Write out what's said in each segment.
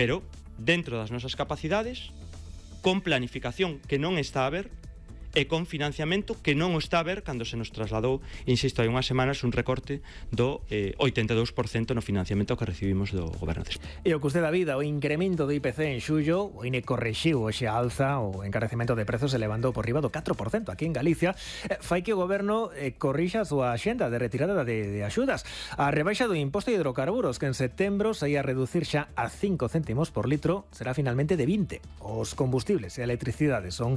pero dentro das nosas capacidades, con planificación que non está a ver, e con financiamento que non o está a ver cando se nos trasladou, insisto, hai unhas semanas un recorte do 82% no financiamento que recibimos do Goberno de España. E o custe da vida, o incremento do IPC en xullo, o INE correxiu hoxe a alza o encarecemento de prezos elevando por riba do 4% aquí en Galicia, fai que o Goberno corrixa a súa axenda de retirada de axudas. A rebaixa do imposto de hidrocarburos, que en setembro se ia a reducir xa a 5 céntimos por litro, será finalmente de 20. Os combustibles e a electricidade son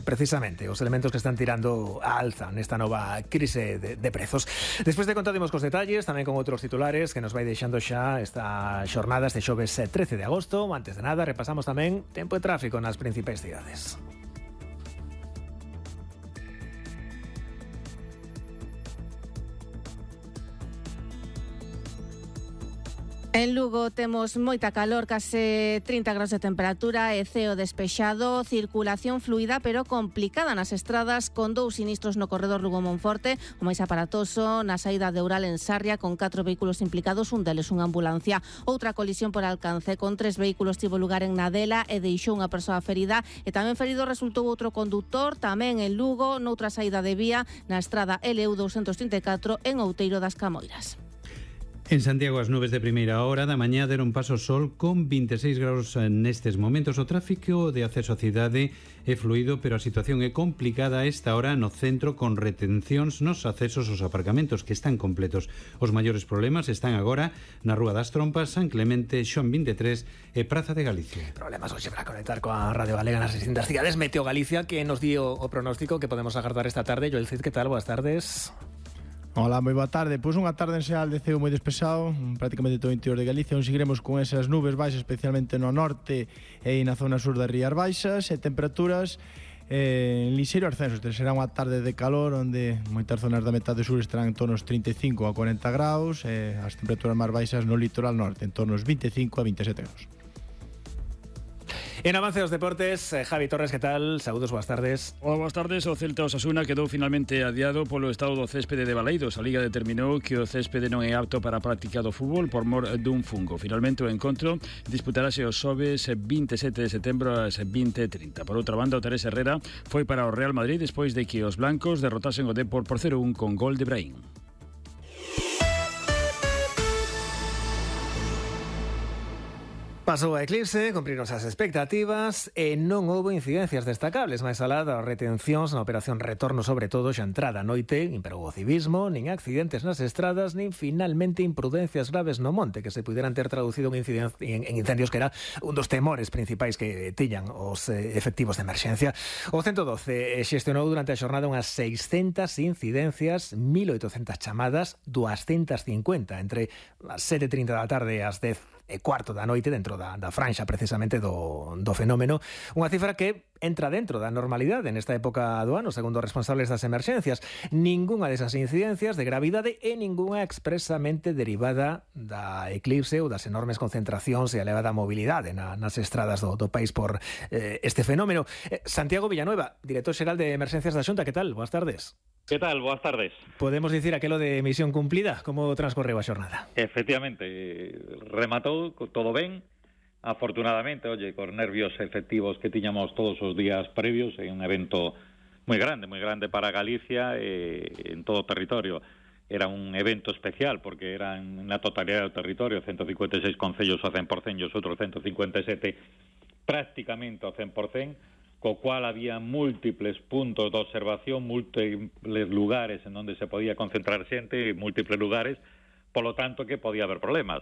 precisamente os elementos que están tirando a alza nesta nova crise de prezos. Despois de contadimos cos detalles, tamén con outros titulares que nos vai deixando xa esta xornada este xoves 13 de agosto. Antes de nada, repasamos tamén tempo e tráfico nas principais cidades. En Lugo temos moita calor, case 30 graus de temperatura e ceo despexado, circulación fluida pero complicada nas estradas, con 2 sinistros no corredor Lugo-Monforte, o máis aparatoso na saída de Oural en Sarria, con 4 vehículos implicados, un deles unha ambulancia. Outra colisión por alcance, con 3 vehículos tivo lugar en Nadela e deixou unha persoa ferida, e tamén ferido resultou outro condutor, tamén en Lugo, noutra saída de vía, na estrada LU 234 en Outeiro das Camoiras. En Santiago as nubes de primeira hora da mañá deron paso ao sol con 26 graus nestes momentos. O tráfico de acceso á cidade é fluido, pero a situación é complicada a esta hora no centro, con retencións nos accesos aos aparcamentos que están completos. Os maiores problemas están agora na Rúa das Trompas, San Clemente, Xoán 23 e Praza de Galicia. Problemas hoxe para conectar coa Radio Galega nas distintas cidades. Meteo Galicia, que nos dio o pronóstico que podemos agardar esta tarde. Joel Cid, que tal? Boas tardes. Hola, moi boa tarde. Pois unha tarde en xeral de ceo moi despexado, prácticamente todo o interior de Galicia, onde seguiremos con esas nubes baixas, especialmente no norte e na zona sur das Rías Baixas, e temperaturas en lixeiro ascenso. Será unha tarde de calor onde moitas zonas da metade sur estarán en torno aos 35 a 40 graus, e as temperaturas máis baixas no litoral norte, en torno aos 25 a 27 graus. En avance dos deportes, Javi Torres, que tal? Saúdos, boas tardes. Hola, boas tardes. O Celta Osasuna quedou finalmente adiado polo estado do céspede de Baleidos. A Liga determinou que o céspede non é apto para a práctica do fútbol por mor dun fungo. Finalmente o encontro disputarase os xoves 27 de setembro ás 20:30. Por outra banda, o Terés Herrera foi para o Real Madrid despois de que os blancos derrotasen o Depor por 0-1 con gol de Brahim. Pasou a eclipse, cumpriron as expectativas e non houbo incidencias destacables, máis alá das retencións na operación retorno, sobre todo xa entrada a noite, imperou o civismo, nin accidentes nas estradas, nin finalmente imprudencias graves no monte que se puderan ter traducido en incendios, que era un dos temores principais que tiñan os efectivos de emerxencia. O 112 xestionou durante a xornada unhas 600 incidencias, 1.800 chamadas, 250 entre as 7:30 da tarde e as 10:15 da noite, dentro da franxa precisamente do fenómeno, unha cifra que entra dentro da normalidade nesta época do ano, segundo os responsables das emerxencias. Ningunha desas incidencias de gravidade e ningunha expresamente derivada da eclipse ou das enormes concentracións e a elevada mobilidade nas estradas do país por este fenómeno. Santiago Villanueva, director xeral de Emerxencias da Xunta, que tal? Boas tardes. ¿Qué tal? Boas tardes. Podemos dicir aquelo de misión cumplida? Como transcorreu a xornada? Efectivamente, rematou todo ben. Afortunadamente, cos nervios efectivos que tiñamos todos os días previos, en un evento moi grande para Galicia en todo o territorio. Era un evento especial porque era na totalidade do territorio, 156 concellos ao 100% e os outros 157 prácticamente ao 100%, co cual había múltiples puntos de observación, múltiples lugares en onde se podía concentrar xente, múltiples lugares, polo tanto que podía haber problemas.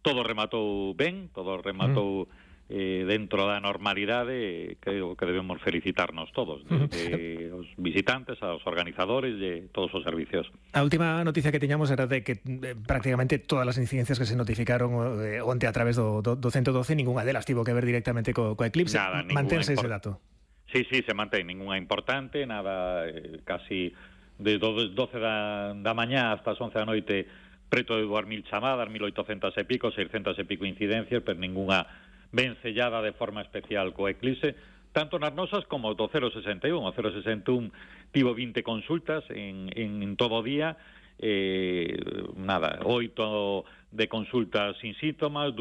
Todo rematou ben, todo rematou dentro da normalidade, creo que debemos felicitarnos todos, desde os visitantes, aos organizadores e todos os servicios. A última noticia que tiñamos era de que prácticamente todas as incidencias que se notificaron onte a través do 112, ninguna delas tivo que ver directamente co eclipse. Nada, mantense ese dato. Sí, se mantén, ninguna importante, nada, casi de 12 da mañá hasta as 11 da noite, preto de 2.000 chamadas, 1.800 e pico, 600 e pico incidencias, pero ninguna vencellada de forma especial co eclipse, tanto nas nosas como do 061. O 061 tivo 20 consultas en todo o día, 8 de consultas sin síntomas,